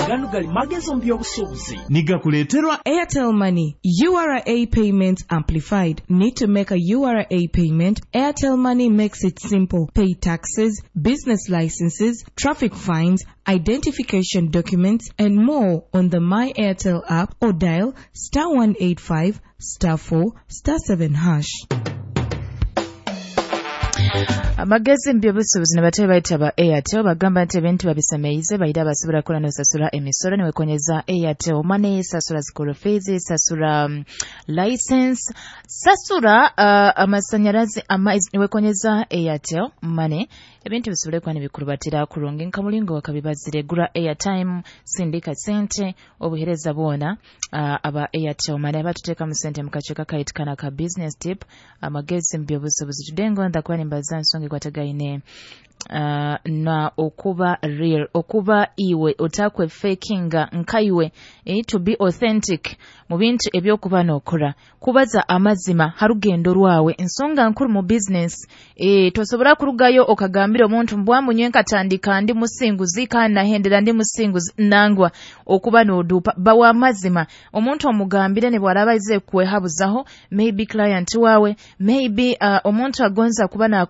Ganu gali magezi omu by'obusuubuzi. Nigakuleeterwa Airtel Money, URA Payments Amplified. Need to make a URA payment? Airtel Money makes it simple. Pay taxes, business licenses, traffic fines, identification documents, and more on the My Airtel app or dial *185 *4 *7#. Amagezi mu by'obusuubuzi nibatebe bayita ba Airtel, bagamba nti ebintu babisemeize, baira basobora kura nosasura emisoro niwekonyeza Airtel Money. Sasura school fees, sasura license, sasura amasanyarazi, amaizi niwekonyeza Airtel Money. Ebintu bisobole kuba nibikurubatira kurungi nka mulingo wakabibazire. Gura airtime, sindika sente, obuhereza bwona. Aba Airtel Money abatuteekamu sente mu kaceeka kaitukana ka business tip, amagezi mu by'obusuubuzi. Tudengo ndakuba nimbaza nsonga ekwatagaine na okuba real, okuba iwe, otakwe fakinga nkaiwe, to be authentic mu bintu ebyokuba nokora, kubaza amazima ha rugendo rwawe, nsonga nkuru mu business. Tosobora kurugayo okagambira omuntu mbwamunye nkatandika ndi musinguzi kandi nahendera ndi musinguzi. Nangwa okuba nodupa, bawa amazima omuntu, omugambire ne bwaraba aize kwehabuzaho, maybe client wawe, maybe omuntu agonza kuba.